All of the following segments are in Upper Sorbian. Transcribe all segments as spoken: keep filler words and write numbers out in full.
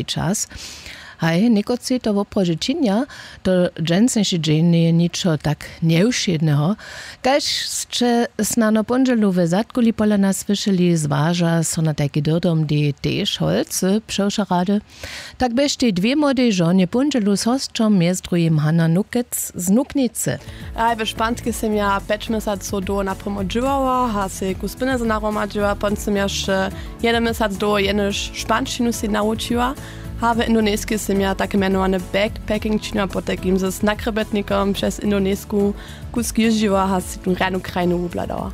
čas. Haj někotři to woprawdźe činja. To dźensniše dźeń njeje ničo tak njewšědneho. Kaž sće snano póndźelu we zadkuli pola nas słyšeli, zwaža so na tajki dyrdom dej tež holcy přewša rady. Tak běštej dwě młodej žonje póndźelu z hosćom mjez druhim Hanna Nukec z Nuknicy. Aj we španskej sym ja pjeć měsacow dołho naprěmo dźěłała a sej ku spynaze nahromadźiła, pon sym ja wšće jedyn měsac dołho jenož španšćinu sej nawučiła. A w indoneskej sym ja tak mjenowany backpacking činiła, potajkim z nakrjebetnikom přez indonesku kusk jězdźiła a sej tu rjanu krajinu wubladała.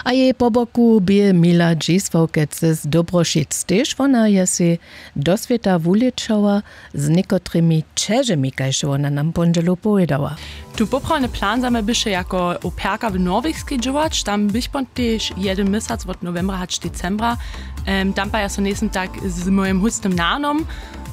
A jej po boku bě mila dźisławkec z dobrošic tež wona je sej do swěta wulěčała z někotrymi ćežemi kaž wona nam póndźelu powědała. Tu poprawny plan za mje běše jako operka w norwegskej dźěłać, tam běch pon tež jedyn měsac wot nowembra hač decembra. Tam pa ja so njejsym tak z mojim hóstnym nanom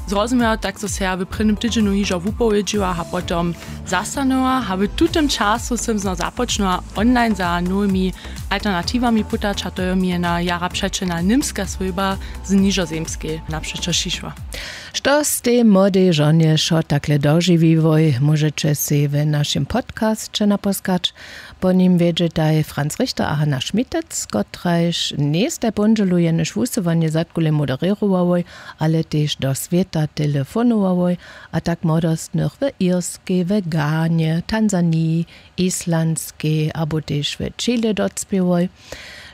zrozumjał, tak zo se ja w prědnym tydźenju hižo wupowědźiła a potom zastanowała a w tutym času sym znow započnała online za nowymi alternatiwami putać a to jo mi jena jara přećelna němska swójba z nižozemskej napřećo šišła. Što stej młodej žonje wšo takle dožiwiłoj, móžeće sej w našim podcasće naposkać. Po nim wjedźetaj franz richter a hanna schmitec kotrajž njejstaj póndźelu jenož wusyłanje zadkule moderěrowałoj, ale tež do swěta telefonowałoj a tak młodostnych w irskej w ghanie tanzaniji, islandskej abo tež w chile docpěłoj.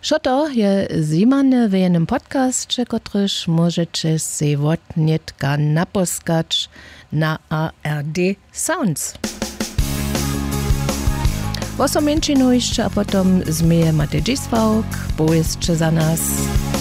Wšo to je zjimane w jenym podcasće kotryž móžeće sej wotnětka naposkać na ard sounds. Wosom mjeńšinu hišće a potom změje matej dźisławk, powěsće za nas.